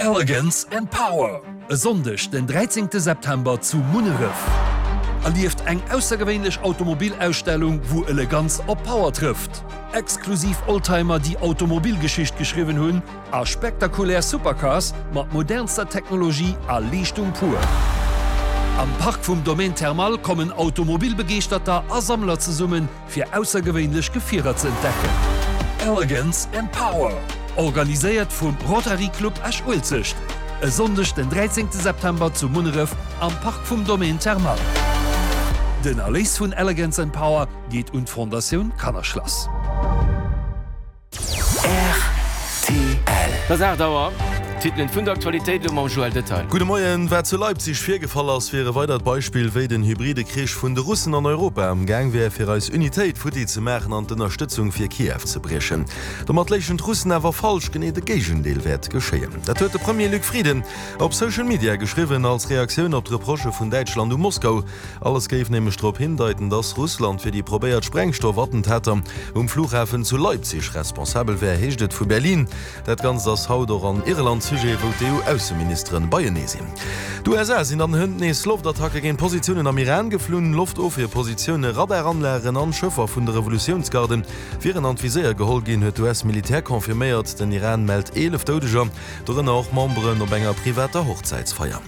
Elegance and Power, e Sonndeg den 13 September zu Munneref. Erlieft eng aussergewéinlech Automobilausstellung, wou Eleganz op Power trëfft. Exklusiv Oldtimer, déi Automobilgeschicht geschriwwen hunn, a spektakulär Supercars mat modernster Technologie a Leeschtung pur. Am Park vum Domaine Thermal kommen Automobilbegeeschterter a Sammler zesummen, fir aussergewéinlech Gefierer ze entdecken. Elegance and Power, organiséiert vum Rotary Club Esch-Uelzecht, e Sonndeg den 13 September zu Munneref am Park vum Domaine Thermal. Den Erléis vun Elegance and Power geet un d'Fondatioun Kannerschlass. Rtl. Et ass 8 Auer. D'Titelen vun der Aktualitéit elo mam Joël Detail. Gudde Moien. Wat zu Leipzig virgefall ass, wier e weidert Beispill, wéi den hybride Krich vun de Russen an Europa am Gaang wär, fir eis Unitéit futti ze maachen an d'Ënnerstëtzung fir Kiew ze briechen. Domat léichen d'Russen awer falsch, genee de Géigendeel wäert geschéien. Dat huet de Premier Luc Frieden op Social Media geschriwwen, als Reaktioun op d'Reprochë vun Däitschland u Moskau. Alles géif nämlech drop hindeiten, dass Russland fir déi probéiert Sprengstoffattentater um Flughafen zu Leipzig responsabel wär, heescht et vu Berlin. Dat Ganzt ass haut och an Irland Sujet, wou d'EU-Ausseministere beienee sinn. D'USA sinn an hënt nees Loftattacke géint Positiounen am Iran geflunn. Loftofwierpositioune, Radaranlagen an Schëffer vun de Revolutiounsgarden wieren an d'Viséier geholl ginn, huet d'US-Militär confirméiert. Den Iran mellt 11 Doudeger. Dorënner och Memberen op enger privater Hochzäitsfeier.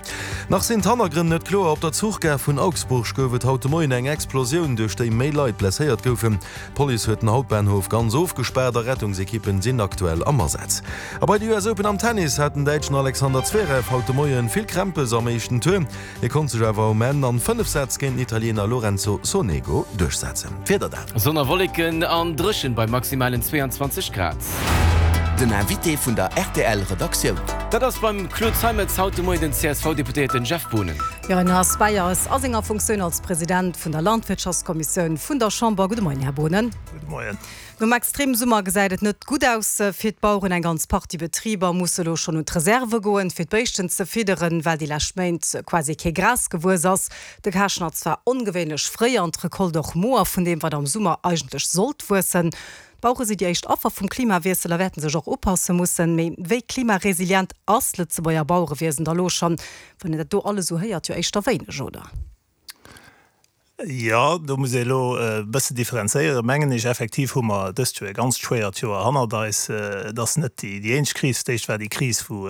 Nach sinn d'Hannergrënn net kloer. Op der Zuchgare vun Augsburg gouf et haut de Moien eng Explosioun, duerch déi méi Leit blesséiert goufen. D'Police huet den Hauptbahnhof ganz ofgespaart a Rettungsekippen sinn aktuell am Asaz. A bei de US Open am Tennis hat den Däitschen Alexander Zverev haut de Moien vill Krämpes am éischten Tour. Hie konnt sech awer um Enn an 5 Sätz géint den Italiener Lorenzo Sonego duerchsetzen. D'Wieder dann. Sonn a Wolleken an dréchen bei maximalen 22 Grad. Den Invité vun der rtl Redaktioun. Dat ass beim Claude Zeimetz haut de Moien den CSV-Deputéierten Jeff Boonen. Jo, en ass bei eis a senger Funktioun als President vun der Landwirtschaftskommissioun vun der Chamber. Gudde Moien, Här Boonen. Gudde Moien. Nom Extremsummer gesäit et net gutt aus fir d'Baueren. Eng ganz Partie Betriber musse elo schonn un d'Reserve goen, fir d'Béischten ze fidderen, well déi lescht Méint quasi kee Gras gewuess ass. De Karschnatz war ongewéinlech fréi an d'Recolte och moer vun deem, wat am Summer eigentlech sollt wuessen. D'Bauere si déi éischt Affer vum Klimawiessel a wäerten sech och upasse mussen. Mee wéi klimaresilient ass d'Lëtzebuerger Bauerewiesen da lo schonn? Wann een dat do alles esou héiert, jo éischter wéineg, oder? Jo, do muss ee elo e bësse differenzéieren, mengen ech. Effektiv hu mer dëst Joer e ganzt schwéiert Joer hannert eis. Et ass net déi eenzeg Kris. D'éischt war déi Kris, wou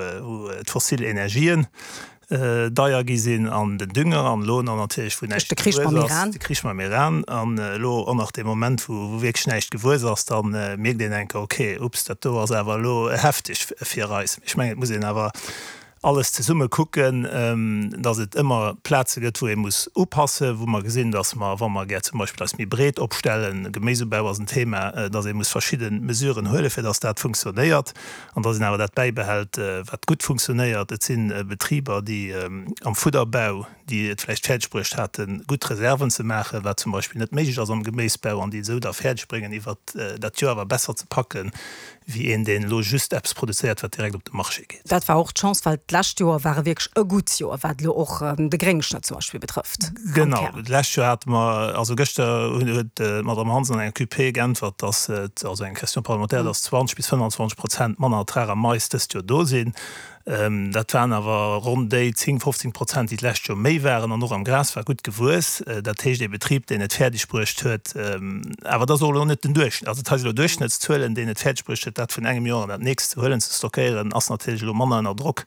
d'fossil Energien deier gi sinn an den Dünger an elo nach natierlech, wou näischt gewuess ass, de Krich mam Iran. An elo och nach dee Moment, wou wierklech näischt gewuess ass, da mierkt een enker, okay, ups, dat do ass awer elo hefteg fir eis. Ech mengen, et muss een awer alles zesumme kucken, dass et ëmmer Plaze gëtt, wou ee muss upassen, wou mer gesinn, dass mer, wa mer gär zum Beispill eis méi breet opstellen, Geméisubau ass en Thema, dass ee muss verschidde Mesuren huelen, fir dass dat funktionéiert an dass een awer dat bäibehält, wat gutt funktionéiert. Et si Betriber, déi am Fudderbau, déi et vläicht fäerdeg bruecht haten, gutt Reserven ze maachen, wat zum Beispill net méiglech ass am Geméisbau, an déi et esou da fäerdeg bréngen, iwwert dat Joer awer besser ze packen, wéi een, deen elo just eppes produzéiert, wat direkt op de Marché geet. Dat war och d'Chance, well d'lescht Joer war e wierklech e gutt Joer, wat elo och de Gréngschnëtt zum Beispill betrëfft. Am Genau, Kär. d'lescht Joer hate mer, also gëschter huet d'Madame Hansen an enger QP geäntwert, dass et, also eng Question parlementaire, dass 20 bis 25 Prozent manner Ertrag am Mais dëst Joer do sinn. Dat waren awer ronn déi 10, 15 Prozent, déi d'lescht Joer méi waren. An och am Gras war gutt gewuess. Dat heescht, ee Betrib, deen et fäerdeg bruecht huet, awer dat ass och elo net den Duerchschnëtt, also dat hei si elo Duerchschnëttszuelen, deen et fäerdeg bruecht huet, dat vun engem Joer an dat nächst ze huelen, ze stockéieren, ass natierlech elo manner ënner Drock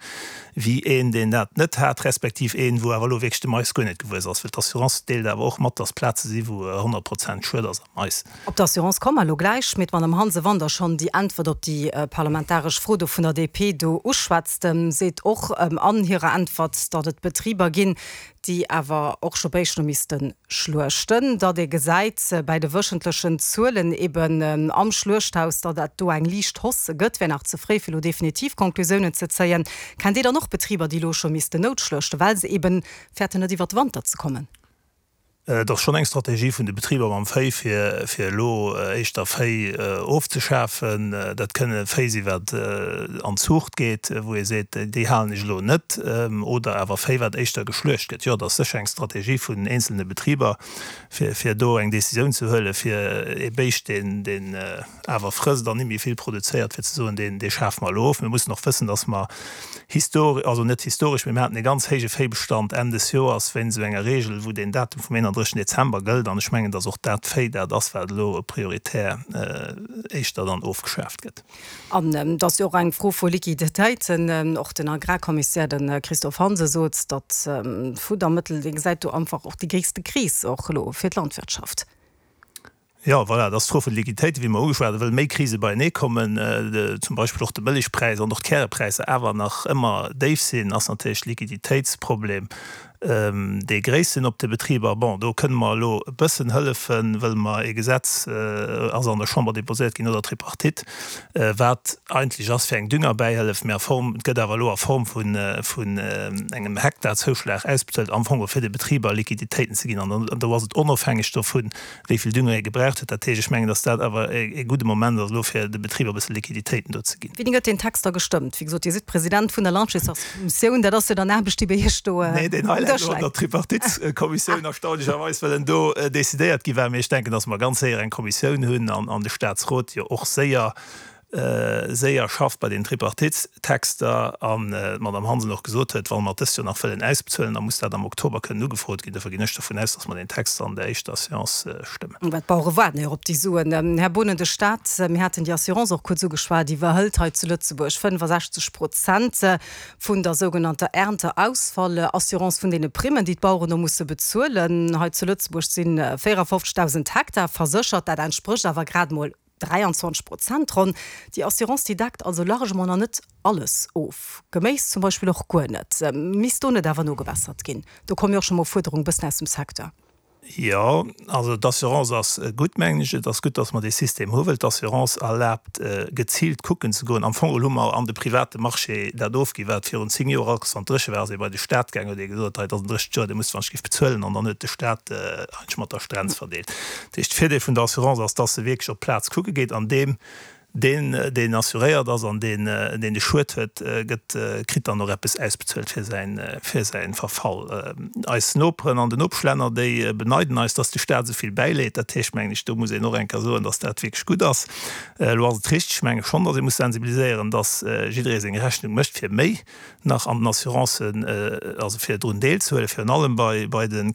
wéi een, deen dat net hat, respektiv een, wou awer elo wierklech de Mais guer net gewuess ass. Well d'Assurance deelt awer och mat, dass Plaze si wou 100 Prozent Schued ass. Mais. Op d'Assurance komme mer elo gläich, mee d'Madame Hansen, wann Der schonn déi Äntwert op déi parlamentaresch Fro do vun der DP do uschwätzt, seet och an hirer Äntwert, datt et Betriber ginn, déi awer och scho Béischt elo misste schluechten, datt ee gesäit bäi de wëchentlechen Zuelen eben am Schluechthaus, datt dat do eng liicht Hausse gëtt, wär nach ze fréi fir elo definitiv Conclusiounen ze zéien. Kennt Dir dann och Betriber, déi elo scho missten noutschluechten, well se eben fäerten net iwwert de Wanter ze kommen? Et ass schonn eng Strategie vun de Betriber mam Véi, fir fir elo éischter Véi ofzeschafen. Dat kënne Véi si wat an d'Zuucht geet, wou ee seet, déi halen ech elo net, oder awer Véi wat éischter geschluecht gëtt. Jo, et ass sécher eng Strategie vun eenzelne Betriber, fir fir do eng Decisioun ze huelen, fir ee Béischt, deen deen awer frësst an net méi vill produzéiert, fir ze soen, deen dee schafe mer elo of. Mir mussen och wëssen, datt mer histor-, also net historesch, mee mir haten e ganz héije Véibestand Enn des Joers wéinst esou enger Regel, wou deen Datum vum 31. Dezember gëllt. An ech mengen, datt och dat Véi dat ass, wat elo prioritär éischter dann ofgeschaaft gëtt. An et ass jo och eng Fro vu Liquiditéiten. Och den Agrarkommissär, de Christophe Hansen, sot, datt d'Fuddermëttel, dee gesäit do einfach och déi gréisste Kris och elo fir d'Landwirtschaft. Jo, voilà, et ass d'Fro vun de Liquiditéiten, wéi mer ugeschwat hunn, wëll méi Krise beienee kommen, zum Beispill och de Mëllechpräis an och d'Kärepräisser awer nach ëmmer déif sinn, ass natierlech de Liquiditéitsproblem dee gréissten op de Betriber. Bon, do kënne mer elo e bëssen hëllefen, wëll mer ee Gesetz ass an der Chamber déposéiert ginn no der Tripartite, wat eigentlech ass fir eng Düngerbäihëllef, mä a Form, et gëtt awer elo a Form vun vun engem Hektarzouschlag ausbezuelt, am Fong fir de Betriber Liquiditéiten ze ginn. An do ass et onofhängeg dovun, wéi vill Dünger ee gebraucht huet. Dat heescht, ech mengen, datt dat awer e gudde Moment ass elo, fir de Betriber e bësse Liquiditéiten do ze ginn. Wéini gëtt deen Text da gestëmmt? Wéi gesot, Dir sidd President vun der Landwirtschaftskommissioun, dat ass jo dann Aarbecht, déi bei Iech do um Nee, deen hei läit elo an der Tripartiteskommissioun, erstaunlecherweis, well en do decidéiert gi war. Mee ech denken, datt mer ganz séier eng Kommissioun hunn an de Statsrot jo och séier séier schafft bei den Tripartitestexter an d'Madame Hansen och gesot huet, wa mer et dëst Joer nach wëllen ausbezuelen, da muss dat am Oktober kënnen ugefrot ginn. Dofir ginn ech dovun aus, datt mer deen Text an der éischter Séance stëmmen. Well d'Bauere waarden jo och op déi Suen. Här Boonen, de Stat, mir haten déi Assurance och kuerz ugeschwat, iwwerhëlt hei zu Lëtzebuerg 65 Prozent vun der sougenannter Ernteausfallassurance, vun deene Primmen, déi d'Baueren do musse bezuelen. Hei zu Lëtzebuerg si 54.000 Hektar verséchert, dat entsprécht awer grad emol 23 Prozent ronn. Déi Assurance, déi deckt also largement nach net alles of. Geméis zum Beispill och guer net. Misst do net awer nogebessert ginn? Do komme jo och scho mol Fuerderungen bëssen aus dem Secteur. Jo, also d'Assurance ass gutt, mengen ech. Et ass gutt, datt mer dee System hu, well d'Assurance erlaabt, geziilt kucken ze goen. Am Fong geholl hu mer an de private Marché dat ofginn, wat virun 10 Joer alt wann et dréche war, ass ee bei de Staat gaangen, huet ee gesot, hei, et ass en dréchent Joer, Dir musst wann ech giff bezuelen. An dann huet de Staat eigentlech mat der Strenz verdeelt. Dat heescht, de Virdeel vun der Assurance ass, dass se wierklech op d'Plaz kucke geet an deem, deen, deen assuréiert ass an deen, deen de Schued huet, gëtt, kritt dann och eppes ausbezuelt fir säin, fir säi Verfall. Eis Noperen an den Nopeschlänner, déi beneiden eis, dass de Staat esou vill bäileet. Dat heescht, mengen ech, do muss een och eng Kéier soen, dass dat wierklech gutt ass. Elo ass et richteg, ech menge schonn, dass ee muss sensibiliséieren, dass jidderee seng Rechnung mécht fir méi nach an den Assurancen, also fir drun deelzehuelen, virun allem bei, bei de.